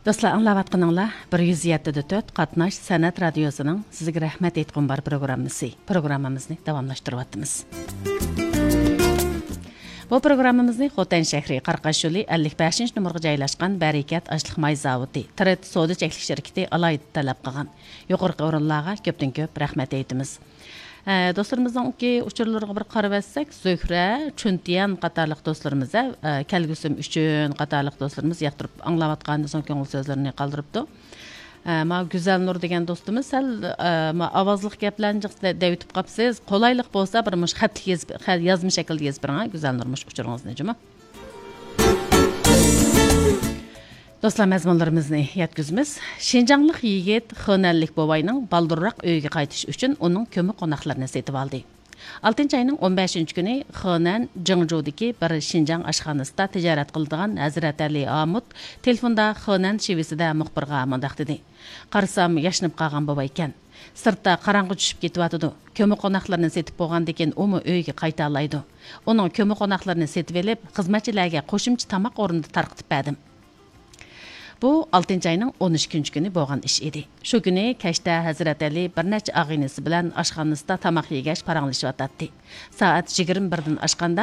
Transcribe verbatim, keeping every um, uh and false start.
دوستلار، ئاڭلاۋاتقىنىڭلار بىر يۈز يەتتە دە تۆت قاتناش سەنئەت رادىيوسىنىڭ سىزگە رەھمەت ئېيتقۇم بار پروگراممىسى. پروگراممىمىزنى داۋاملاشتۇرۇۋاتىمىز. بۇ پروگراممىمىزنى خوتەن شەھىرى قاراقاش يولى ئەللىك بەشىنچى نومۇرغا جايلاشقان بەرىكەت ئاشلىق ماي زاۋۇتى، تىرېد سودا چەكلىك شىركىتى ئالاھىدە تەلەپ قىلغان. يۇقىرىقى ئورۇنلارغا كۆپتىن كۆپ رەھمەت ئېيتىمىز. ئە، دوستلىرىمىزنىڭكى ئۇچۇرلىرىغا بىر قارىۋەتسەك، زۆھرە، چۈنتيەن قاتارلىق دوستلىرىمىز، ئە، كەلگۈسىم ئۈچۈن قاتارلىق دوستلىرىمىز ياقتۇرۇپ ئاڭلاۋاتقاندىن سوڭ كۆڭۈل سۆزلىرىنى قالدۇرۇپتۇ. ئە، ما گۈزەلنۇر دېگەن دوستىمىز سەل، ئە، ما ئاۋازلىق گەپلەرنى جىق دە-، دەۋېتىپ قاپسىز. قولايلىق بولسا بىر مۇش خەتلىك يېزىپ، خە-، يازما شەكىلدە يېزىپ بېرىڭ، ھە، گۈزەلنۇر مۇش ئۇچۇرىڭىزنى جۇمۇ. دوستلار، مەزمۇنلىرىمىزنى يەتكۈزىمىز. شىنجاڭلىق يىگىت خېنەنلىك بوۋاينىڭ بالدۇرراق ئۆيىگە قايتىشى ئۈچۈن ئۇنىڭ كۆمە قوناقلىرىنى سېتىۋالدى. ئالتىنچى ئاينىڭ ئون بەشىنچى كۈنى خېنەن جىڭجۇدىكى بىر شىنجاڭ ئاشخانىسىدا تىجارەت قىلىدىغان ھەزرەت ئەلى ئامۇت تېلېفوندا خېنەن شىۋىسىدە مۇخبىرغا مۇنداق دېدى: «قارىسام، ياشىنىپ قالغان بوۋايكەن. سىرتتا قاراڭغۇ چۈشۈپ كېتىۋاتىدۇ. كۆمە قوناقلىرىنى سېتىپ بولغاندىكىن ئۇمۇ ئۆيىگە قايتالايدۇ. ئۇنىڭ كۆمە قوناقلىرىنى سېتىۋېلىپ، خىزمەتچىلەرگە قوشۇمچە تاماق ئورنىدا تارقىتىپ بەردىم.» بۇ ئالتىنچى ئاينىڭ ئون ئىككىنچى كۈنى بولغان ئىش ئىدى. شۇ كۈنى كەچتە ھەزرەت ئەلى بىر نەچچە ئاغىنىسى بىلەن ئاشخانىسىدا تاماق يېگەچ پاراڭلىشىۋاتاتتى. سائەت يىگىرمە بىردىن ئاشقاندا